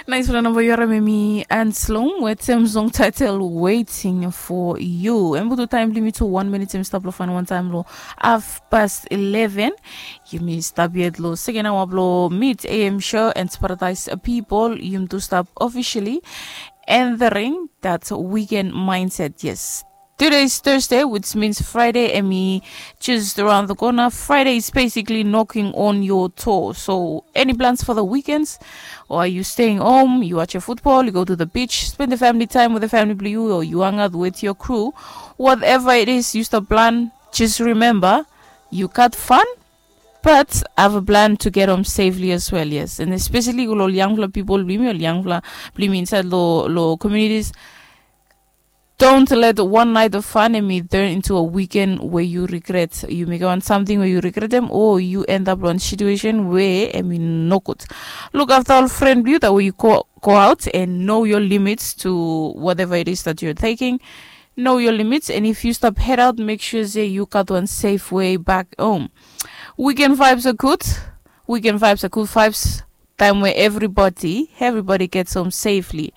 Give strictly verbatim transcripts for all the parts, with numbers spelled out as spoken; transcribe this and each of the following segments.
Nais fala namba yu harim em i Anslong wetem song title Waiting for You. Em butu taim blong yumi tu wan minit em i stap long fain wan taim long half past eleven. Yumi stap yet long second hour blong Mid A M show and Paradise People. Yumi tu stap officially entering that weekend mindset. Yes. Today is Thursday, which means Friday em i just around the corner. Friday is basically knocking on your door. So, any plans for the weekends? Or are you staying home? You watch your football, you go to the beach, spend the family time with the family blong yu, or you hang out with your crew. Whatever it is, yu stap plan. Just remember, you got fun, but have a plan to get home safely as well, yes. And especially ol yangfala pipol blong yumi, ol yangfala blong yumi inside lo lo communities. Don't let one night of fun em i turn into a weekend where you regret. Yu mekem wan samting we yu regret em, o yu end up long wan situation we em i nogud. Look after ol fren blong yu, that way you go, go out and know your limits to whatever it is that you're taking. Know your limits, and if you stop head out, make sure say you got one safe way back home. Weekend vibes are good. Weekend vibes are good vibes. Time where everybody, everybody gets home safely.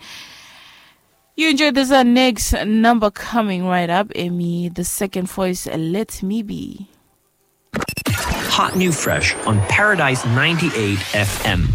You enjoy this uh, next number coming right up. Emi, the second voice, uh, Let Me Be. Hot new fresh on Paradise ninety-eight F M.